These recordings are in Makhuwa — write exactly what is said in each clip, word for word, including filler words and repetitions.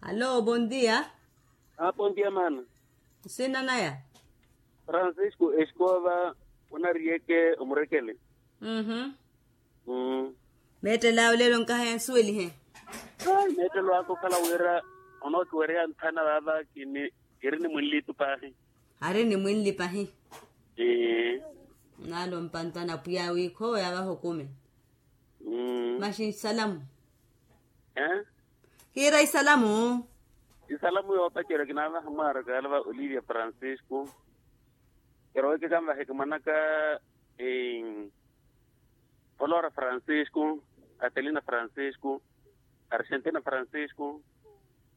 Allo, bondia. Bondia mana. Nsina naya? Francisco escova. Onariyeke omurekele. Meettelo awe lelo nkahaya nsuwelihe. Meettelo aka okhala wira onookiwereya nthana vaava kini. Kiri ni mwinlitu pahi. Ari ni mwinli pahi. Nalo mpantana pwiya wi khowo yavaha okume. Maxi isalamu. Kiira isalamu. Isalamu yoopacerya kinaavaha mwaaraka yalava olivia francisco. Kirowe kikanvahe kimwanaka. Flora francisco, atelina francisco, argentina francisco,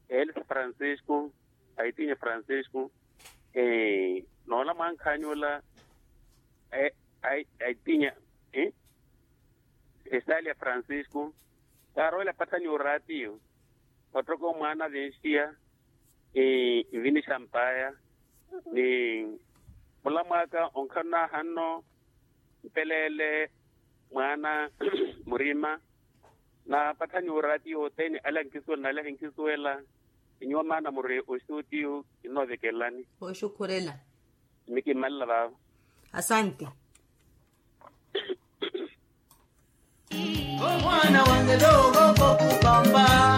elsa francisco, aitinya francisco. Noola mwankhaani ola aitinya. Estalia francisco. Kaarowela pathani oraatiyo. Ottoka omwaana vinxiya. Nvini xampaya ni mulamwaaka onkhanona hanno. Mpeleele mwaana murima. Na pathani oraatiyo othene ale ankisuwela nale ahinkisuwela. Inyuwa maana muri oxuutiyo. Kinoovekelelani. Oxukhurela. Mikimalela vaavo. Asante. Omwaana wange doogo kokupamba.